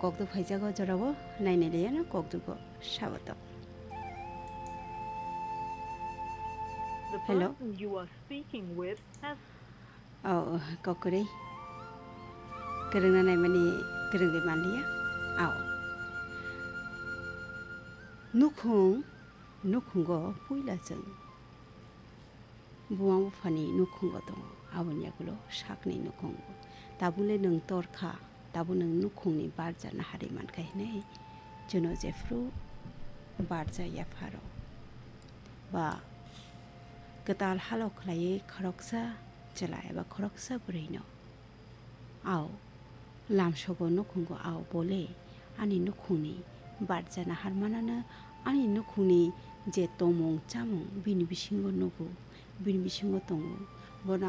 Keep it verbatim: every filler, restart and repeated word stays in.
Kokduk phaijago jorao, nainai liyano kokdugo sabato. The Hello? person you are speaking with has Oh, kokwrwi. Kwrwngna naimani kwrwngwi manliya. Ao. Nukhung, nukhungo puila chwng. Buma buphani nukhungo tongo, aboni yagulo sakni nukhungo. Tabukle nwng torkha, tabuk nwng nukhungni barja naharwi mankha hinwi chwngno jephru barja yapharo. Ba kwtal halo khlaiwi khoroksa chwla eba khoroksa bwrwino. Ao, lamsogo nukhungo ao bole ani nukhungni barja naharmanano ani nukhungni je tongmung chamung bini bisingo nugo, bini bisingo tongo,